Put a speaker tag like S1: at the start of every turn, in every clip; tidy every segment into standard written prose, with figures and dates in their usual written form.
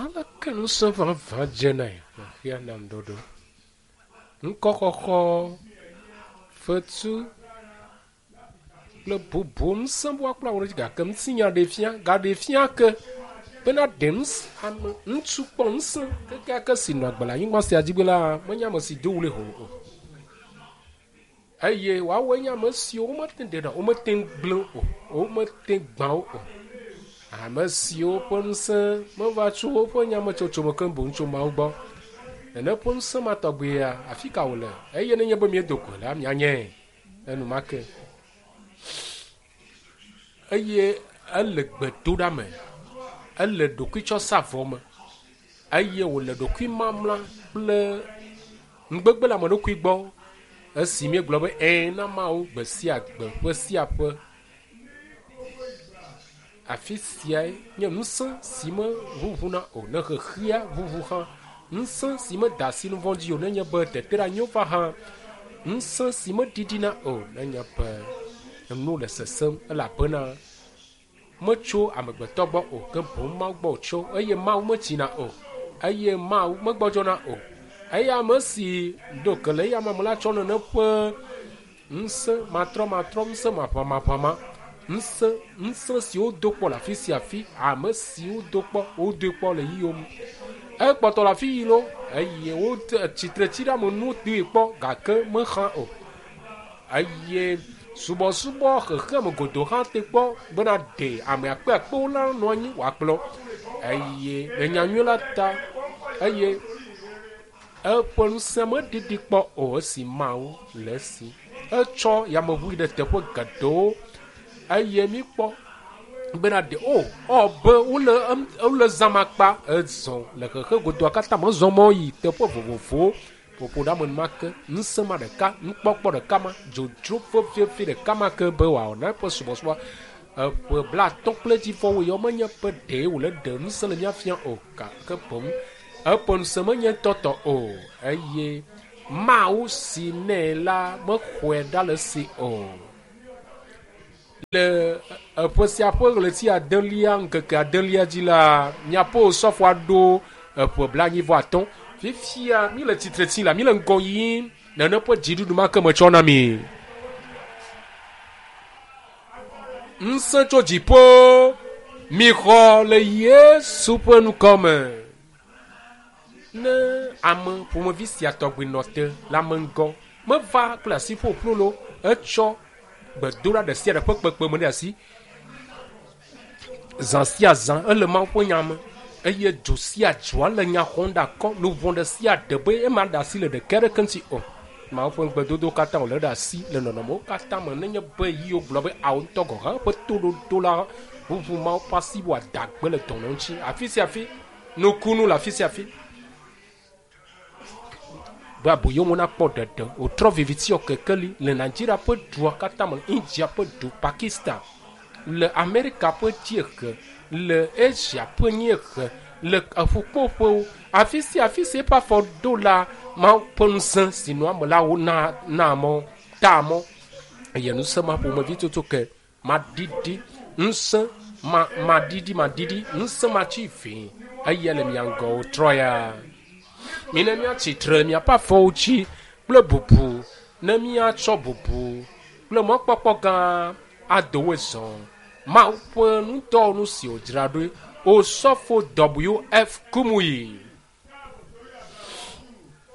S1: Aleke ŋusẽ vavã dzenae le xexea nam ɖoɖo? Ŋkɔxɔxɔ, fetu kple bubu ŋusẽ bua kple awu ɖe edzi gake ŋutinya ɖee fia gaɖee fia ke bena ɖe ŋusẽ ame ŋutsu kpɔ ŋusẽ kekeake si nɔ agbe le anyigba sia dzi la menye ame si do wli ho o. Eye woawoe nye ame siwo womete ŋu ɖena o, womete ŋu gblẽ o, womete ŋu gbã wo o. Ame siwo ƒe ŋusẽ meva tso woƒe nyametsotso me keŋ boŋ tso Mawu gbɔ. Nene ƒe ŋusẽ ma tɔgbea, afi ka wòle? Eye nenye be miedo goe la, mianyae enumake. Eye ele gbedoɖa me, ele ɖokuitsɔsavɔ me, eye wòle ɖokuimamla kple nugbegbe le ame ɖokui gbɔ esi míegblɔ be ɛ̃ na Mawu gbe sia gbe, ƒe sia ƒe. Afi siae nye ŋusẽ si meʋuʋuna o ne xexea ʋuʋu hã, ŋusẽ si meda asi nu vɔ̃ dzi o nenye be teteɖeanyiwo va hã, ŋusẽ si meɖiɖina o nenye be enu le sesẽm elabena metso amegbetɔ gbɔ o, ke boŋ Mawu gbɔ wòtso, eye Mawu metsina o, eye Mawu megbɔdzɔna o. Eye ame si ɖo ke le eya me la tsɔ nene ƒe Ŋusẽ matrɔmatrɔ, ŋusẽ maʋamaʋãma, ŋusẽ, ŋusẽ si wodo kpɔ le afi sia afi, ame si wodo kpɔ, wodoe kpɔ le yiyom. Ekpɔtɔ le afi yi lo, eye wote tsitretsiɖeamenu doe kpɔ gake mexã o. Eye subɔsubɔ xexeame godoo hã te kpɔ bena ɖe ame akpeakpewo la nɔ anyi wòakplɔ. Eye le nyanyui la ta, eye Eƒe ŋusẽ meɖiɖi kpɔ o esi Mawu le esi. Etsɔ yameʋu yi ɖe teƒe geɖewo eye míkpɔ bena ɖe o ɔ be wole wole zãm akpa ezɔ le xexe godoa katã me zɔ mɔ yi teƒe vovovowo ƒoƒo ɖe ame enumake ŋusẽ ma ɖeka nukpɔkpɔ ɖeka ma dzodzro vevie ɖeka ma ke be wòawɔ na eƒe subɔsubɔ eƒe blatɔ̃ kple edzivɔwo yɔ menye be ɖee wòle ɖe ŋusẽ le mía fia o gake boŋ Eƒe ŋusẽ menye tɔtɔ o, eye Mawu si nɛ la mexɔe ɖa le esi o. Le eƒe sia ƒe ɣleti adelia ŋkeke adelia dzi la, miaƒe osɔfoa ɖo eƒe blaenyi-vɔ-atɔ̃. Fifia míele tsitre tsim la, míele ŋgɔ yim nene ƒe dziɖuɖu ma ke metsɔ na mi. Ŋusẽ tso dziƒo mixɔ le Yesu ƒe ŋkɔ me. Ne ame ƒomevi sia tɔgbi nɔ te le ame ŋgɔ, meva kple asi ƒoƒlu lo, etsɔ gbedoɖa ɖe sia ɖe ƒe kpekpeme ɖe asi. Zã sia zã ele Mawu ƒe nya me eye dzo sia dzoa le nya xɔm ɖe akɔ luʋɔ ɖe sia ɖe be ema ɖe asi le ɖeke aɖeke ŋuti o. Mawu ƒe ŋugbedodo katã wòle ɖe asi le nɔnɔmewo katã me nenye be yiwo gblɔ be ao ŋutɔ gɔ̃ hã ƒe toɖoɖo la ʋuʋu Mawu ƒe asi wòada gbe le dɔnɔ ŋuti afi sia afi, nukunu le afi sia afi. Be aboyomo nakpɔ ɖeɖe. Wòtrɔ viviti wɔ kekeli le Nigeria ƒe dua katã me, India ƒe du, Pakistan, le Amerika ƒe dziehe, le Asia ƒe nyiehe, le eƒukpoƒewo, afi sia afi si eƒe afɔ ɖo la, Mawu ƒe ŋusẽ si nɔa eme la wona naa mɔ, taa mɔ. Eye ŋusẽ ma ƒomevi toto ke Maɖiɖi, ŋusẽ ma, maɖiɖi, maɖiɖi, ŋusẽ matsi vĩ, eya le mia ŋgɔ wòtrɔ ya. Mina míatsi tre le miaƒe afɔwo dzi kple bubu, ne míatsɔ bubu kple mɔkpɔkpɔ gã ado woe zɔ. Mawu ƒe ŋudɔwɔnu si wòdzra ɖoe, Osɔfo WF. Kumuyi.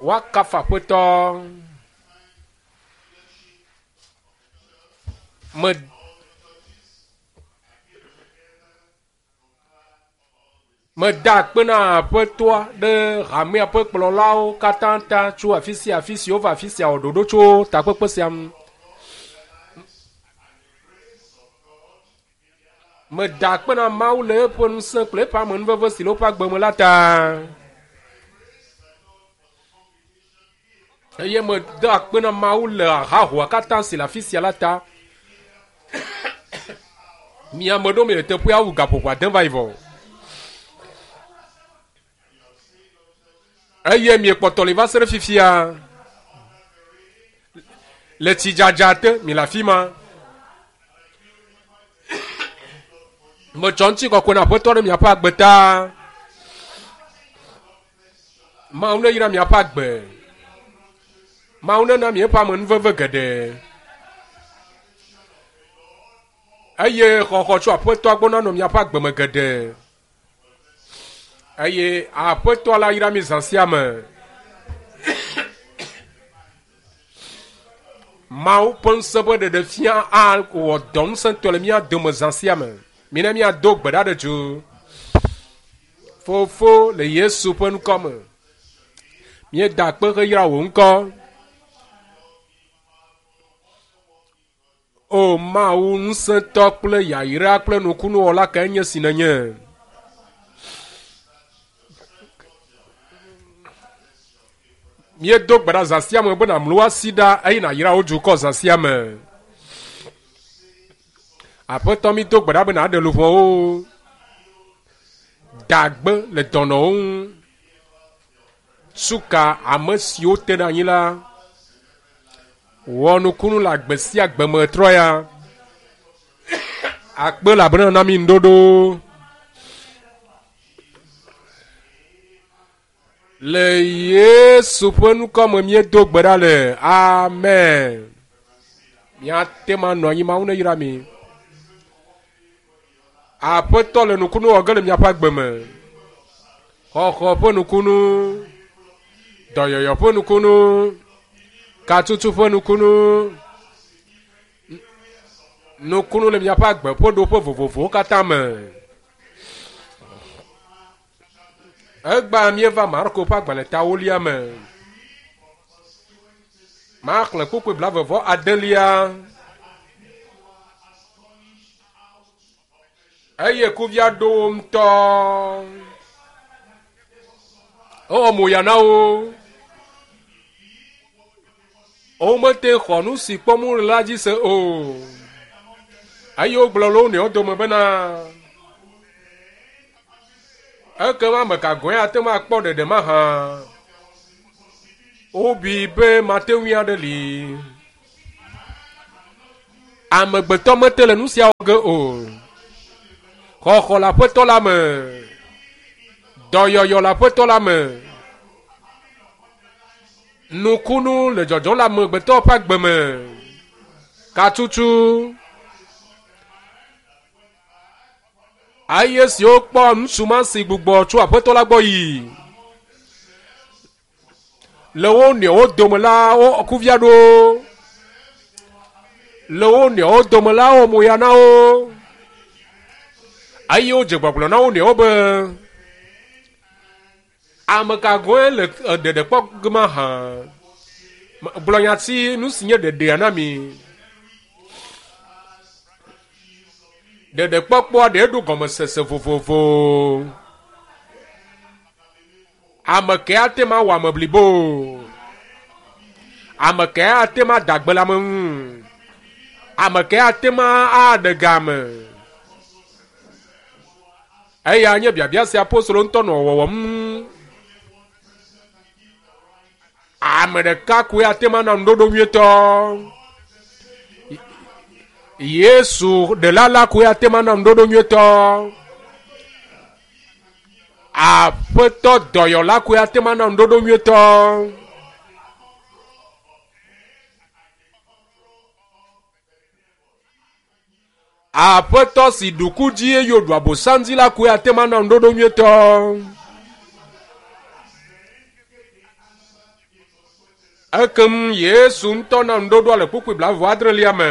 S1: Woakafu Aƒetɔ. Me meda akpe na Aƒetɔa ɖe hamea ƒe kplɔlawo katã ta tso afi sia afi si wova afi sia wɔ ɖoɖo tso takpekpe sia ŋu. Meda akpe na Mawu le eƒe ŋusẽ kple eƒe amenuveve si le woƒe agbe me la ta. Eye meda akpe na Mawu le hahoa katã si le afi sia la ta. Mi ame ɖewo miele teƒea wu gaƒoƒo ade va yi vɔ. Eye miekpɔtɔ li va se ɖe fifia. Le tsidzadza te mi le afi ma. Metsɔ ŋutikɔkɔe na Aƒetɔ ɖe miaƒe agbe ta. Mawu ne yra miaƒe agbe. Mawu nena miaƒe amenuveve geɖe. Eye xɔxɔ tso Aƒetɔa gbɔ nanɔ miaƒe agbe me geɖe. Eye Aƒetɔ la yra mi zã sia me. Mawu ƒe ŋusẽ ƒe ɖeɖefia awɔ dɔ ŋusẽtɔ le mía dome zã sia me. Mina míado gbe ɖa ɖe dzo. Fofo le Yesu ƒe ŋkɔ me. Míeda akpe heyra wò ŋkɔ. O Mawu ŋusẽtɔ kple yayra kple nukunuwɔla kae nye si nènye. Míedo gbe ɖa zã sia me be nàmlu asi ɖa eye nàyra wò dukɔ zã sia me. Aƒetɔ mído gbe ɖa be nàɖe luʋɔwo. Da gbe le dɔnɔwo ŋu. Suka ame siwo te ɖe anyi la. Wɔ nukunu le agbe sia agbe me trɔ ya. Akpe elabena na mi ŋɖoɖo. Le Yesu ƒe ŋkɔ me míedo gbe ɖa le. Amen. Míate ŋu anɔ anyi Mawu neyra mi. Aƒetɔ le nukunu wɔ ge le miaƒe agbe me. Xɔxɔ ƒe nukunu, dɔyɔyɔ ƒe nukunu, katutu ƒe nukunu, nukunu le miaƒe agbe ƒe ɖoƒe vovovowo katã me. Egbea míeva Marko ƒe agbalẽ ta wolia me. Maxlẽ kpukpui blavevɔ adelia. Eye kuvia ɖo wo ŋutɔ. Ewɔ mo ya na wo. Womete xɔ nu si kpɔm wole la dzi se o. Eye wogblɔ le wo nɔewo dome bena, Ekema ame ka gɔ̃e ate ŋu akpɔ ɖeɖe mahã? Wobui be mate ŋui aɖe li. Amegbetɔ mete le nu sia wɔ ge o. Xɔxɔ le Aƒetɔ la me. Dɔyɔyɔ le Aƒetɔ la me. Nukunu le dzɔdzɔm le amegbetɔ ƒe agbe me. Katutu. Eye siwo kpɔ ŋutsu ma si gbugbɔ tso Aƒetɔ la gbɔ yi le wo nɔewo dome la wo kuvia ɖo le wo nɔewo dome la wɔ moya na wo eye wodze gbɔgblɔ na wo nɔewo be Ame ka gɔ̃e le ɖeɖe kpɔ ge mahã? Gblɔ nya si nu si nye ɖeɖea na mi. Ɖeɖekpɔkpɔa ɖe ɖo gɔmesese vovovo. Ame kae ate ŋu awɔ ame blibo? Ame kae ate ŋu ada gbe le ame ŋu? Ame kae ate ŋu aɖe ga ame? Eya nye biabia si apostolo ŋutɔ nɔ wɔwɔm. Ame ɖeka koe ate ŋu ana ŋuɖoɖo nyuitɔ. Yesu ɖela la koe ate ŋu ana ŋuɖoɖo nyuitɔ. Aƒetɔ dɔyɔla koe ate ŋu ana ŋuɖoɖo nyuitɔ. Aƒetɔ si ɖu ku dzi eye wòɖu abosam dzi la koe ate ŋu ana ŋuɖoɖo nyuitɔ. Ekem Yesu ŋutɔ na ŋuɖoɖoa le kpukpui blaeve adrelia me.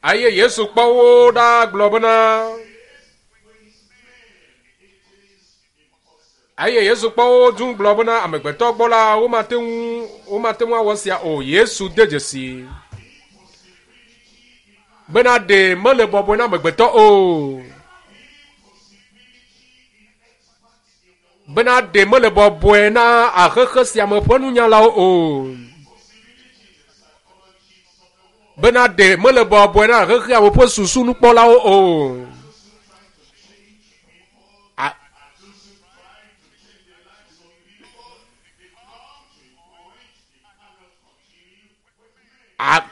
S1: Eye Yesu kpɔ wo ɖa gblɔ bena, Eye Yesu kpɔ wo dũ gblɔ bena amegbetɔ gbɔ la womate ŋu womate ŋu awɔ esia o. Yesu de dzesi bena ɖe mele bɔbɔe na amegbetɔ o. Bena ɖe mele bɔbɔe na axexe sia me ƒe nunyalawo o. Bena ɖe mele bɔbɔe na xexea me ƒe susu nukpɔlawo o. A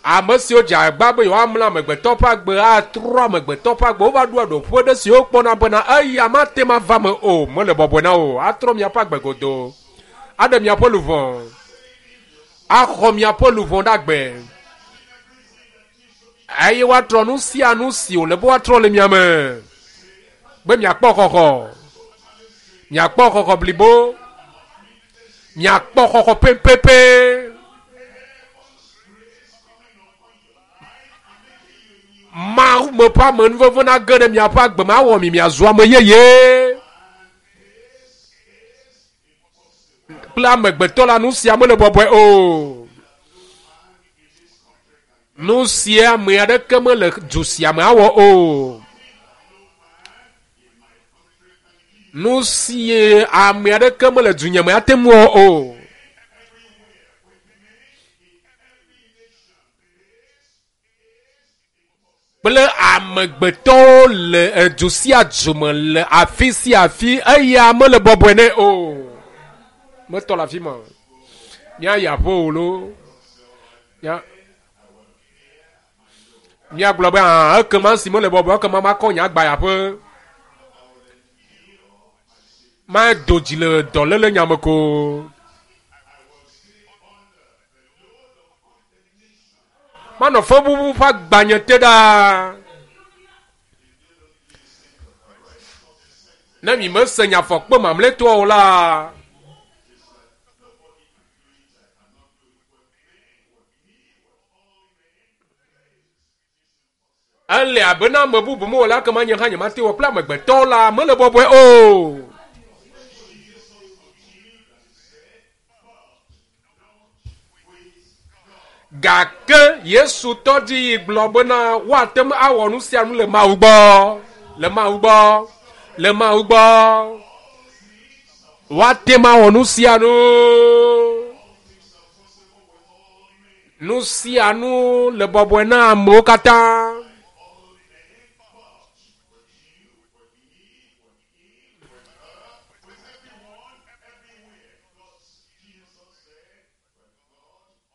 S1: a Ame siwo dze agba be yewoamlɔ amegbetɔ ƒe agbe atrɔ amegbetɔ ƒe agbe wova ɖoa ɖoƒe ɖe si wokpɔna bena eya mate ŋu ava me o mele bɔbɔe na o atrɔ miaƒe agbe godoo aɖe miaƒe luʋɔ axɔ miaƒe luʋɔ ɖe agbe eye woatrɔ nu sia nu si wòle be woatrɔ le mia me be miakpɔ xɔxɔ miakpɔ xɔxɔ blibo miakpɔ xɔxɔ pɛpɛpɛ. Mawu me ƒe amenuveve nage ɖe miaƒe agbe me awɔ mi miazu ame yeye. Kple amegbetɔ la nu sia mele bɔbɔe o. Nu sia ame aɖeke mele du sia me awɔ o. Nu sie ame aɖeke mele dunye me ate ŋu awɔ o. Kple amegbetɔwo le edu sia du me le afi sia afi eya mele bɔbɔe nɛ o. Metɔ le afi ma. Míayi aƒe o lo. Mía míagblɔ be ah ekema si mele bɔbɔe ekema makɔ nye agba yi aƒe. Mado dzi le dɔléle nya me ko. Manɔ fɔbubu ƒe agbanye te ɖaa. Ne mi mese nye afɔkpe mamlɛtɔa o la, ele abe na ame bubu mewɔ la ekema nye hã nyemate wɔ kple amegbetɔwo la mele bɔbɔe o. Gake Yesu tɔ dzi yi gblɔ bena woate ŋu awɔ nu sia nu le Mawu gbɔ, le Mawu gbɔ, le Mawu gbɔ. Woate ŋu awɔ nu sia nu. Nu sia nu le bɔbɔe na amewo katã.